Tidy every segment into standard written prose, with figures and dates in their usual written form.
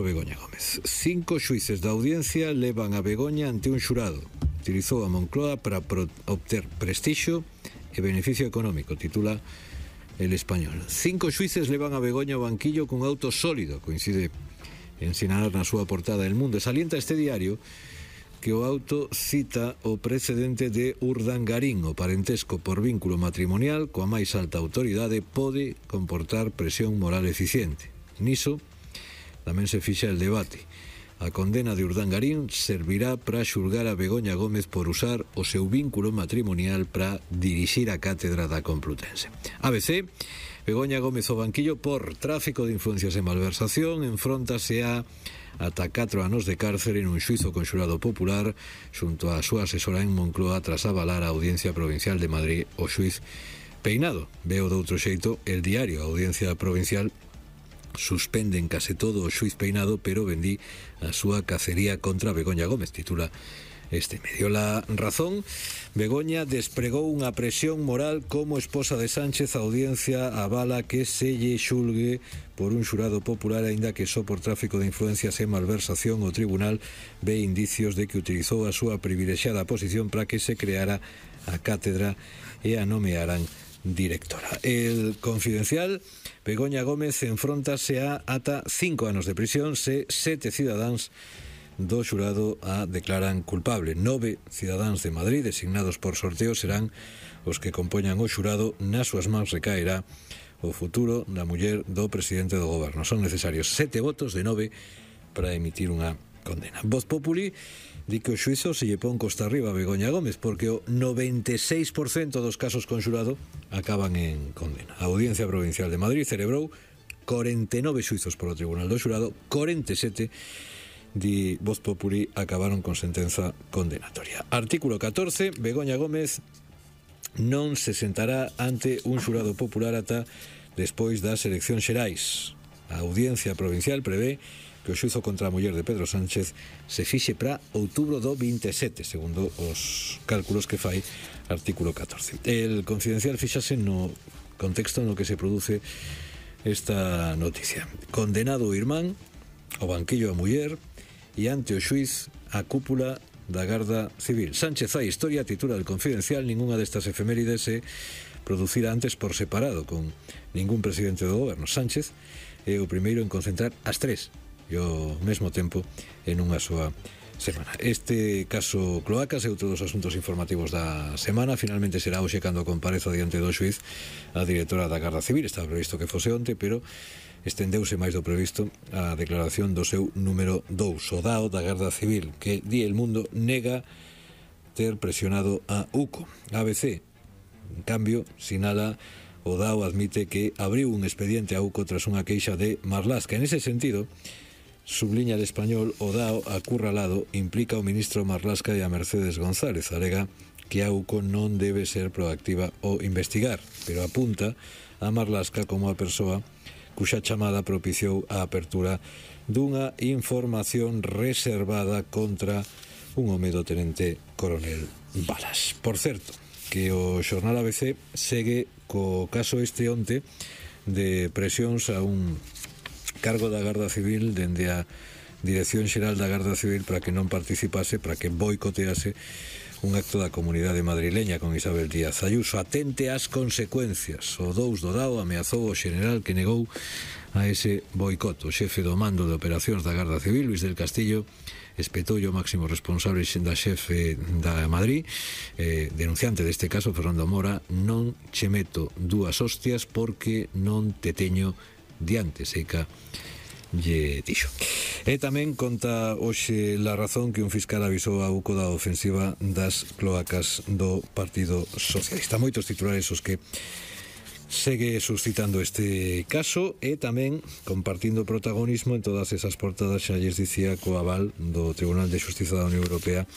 Begoña Gómez. 5 xuíces da audiencia levan a Begoña ante un xurado. Utilizou a Moncloa para obter prestixio e beneficio económico, titula El Español. 5 xuíces levan a Begoña ao banquillo cun auto sólido, coincide en sinalar na súa portada El Mundo. Salienta este diario que o auto cita o precedente de Urdangarín. O parentesco por vínculo matrimonial coa máis alta autoridade pode comportar presión moral eficiente. Niso tamén se fixa el debate. A condena de Urdangarín servirá para xulgar a Begoña Gómez por usar o seu vínculo matrimonial para dirixir a cátedra da Complutense. ABC, Begoña Gómez ao banquillo por tráfico de influencias e malversación, enfróntase a ata 4 anos de cárcere nun xuizo con xurado popular xunto á súa asesora en Moncloa tras avalar a Audiencia Provincial de Madrid o xuiz Peinado. Veo de outro xeito el diario. A Audiencia Provincial suspende en case todo o xuiz Peinado, pero vendí a súa cacería contra Begoña Gómez, titula este medio. La Razón, Begoña despregou unha presión moral como esposa de Sánchez. A audiencia avala que se lle xulgue por un xurado popular, aínda que só por tráfico de influencias e malversación. O tribunal ve indicios de que utilizou a súa privilexiada posición para que se creara a cátedra e a nomearan directora. El Confidencial, Begoña Gómez enfróntase a ata 5 anos de prisión se 7 cidadáns do xurado a declaran culpable. 9 cidadáns de Madrid designados por sorteo serán os que compoñan o xurado. Nas súas mans recaerá o futuro da muller do presidente do goberno. Son necesarios 7 votos de 9 para emitir unha condena. Voz Populi di que o xuizo se lle pon costa arriba a Begoña Gómez porque o 96% dos casos con xurado acaban en condena. A Audiencia Provincial de Madrid celebrou 49 xuizos polo Tribunal do Xurado, 47 di Voz Populi acabaron con sentenza condenatoria. Artículo 14, Begoña Gómez non se sentará ante un xurado popular ata despois das eleccións xerais. A Audiencia Provincial prevé que o xuizo contra a muller de Pedro Sánchez se fixe para outubro do 27, segundo os cálculos que fai artículo 14. El Confidencial fíxase no contexto no que se produce esta noticia. Condenado o irmán, o banquillo a muller e ante o xuiz a cúpula da Garda Civil. Sánchez fai historia, titula El Confidencial. Ningunha destas efemérides se producirá antes por separado con ningún presidente do goberno. Sánchez é o primeiro en concentrar as 3 e ao mesmo tempo en unha súa semana. Este caso Cloacas é outro dos asuntos informativos da semana. Finalmente será hoxe cando compareza diante do xuiz a directora da Garda Civil. Estaba previsto que fose onte, pero estendeuse máis do previsto a declaración do seu número 2, o DAO da Garda Civil, que di El Mundo nega ter presionado a UCO. ABC, en cambio, sinala o DAO admite que abriu un expediente a UCO tras unha queixa de Marlaska. En ese sentido, subliña El Español, o DAO acurralado implica ao ministro Marlaska e a Mercedes González. Alega que a UCO non debe ser proactiva ou investigar, pero apunta a Marlaska como a persoa cuxa chamada propiciou a apertura dunha información reservada contra un home do tenente coronel Balas. Por certo, que o xornal ABC segue co caso este onte de presións a un cargo da Garda Civil dende a Dirección Xeral da Garda Civil para que non participase, para que boicotease un acto da comunidade madrileña con Isabel Díaz Ayuso. Atente ás consecuencias. O 2 do DAO ameazou o xeneral que negou a ese boicot. O xefe do mando de operacións da Garda Civil, Luis del Castillo, espetoulle o máximo responsable da xefe da Madrid, denunciante deste caso, Fernando Mora: non che meto dúas hostias porque non te teño diante, seica lle dixo. E tamén conta hoxe La Razón que un fiscal avisou a UCO da ofensiva das cloacas do Partido Socialista. Moitos titulares os que segue suscitando este caso e tamén compartindo protagonismo en todas esas portadas, xa lles dicía, co aval do Tribunal de Xustiza da Unión Europea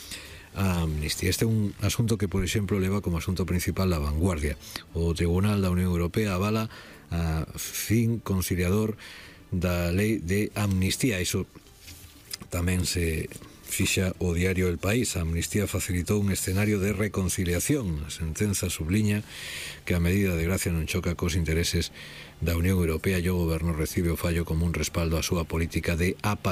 a Amnistía. Este é un asunto que, por exemplo, leva como asunto principal a Vanguardia. O Tribunal da Unión Europea avala a fin conciliador da lei de amnistía. Iso tamén se fixa o diario El País. A amnistía facilitou un escenario de reconciliación. A sentenza subliña que a medida de gracia non choca cos intereses da Unión Europea e o goberno recibe o fallo como un respaldo á súa política de apaciguamento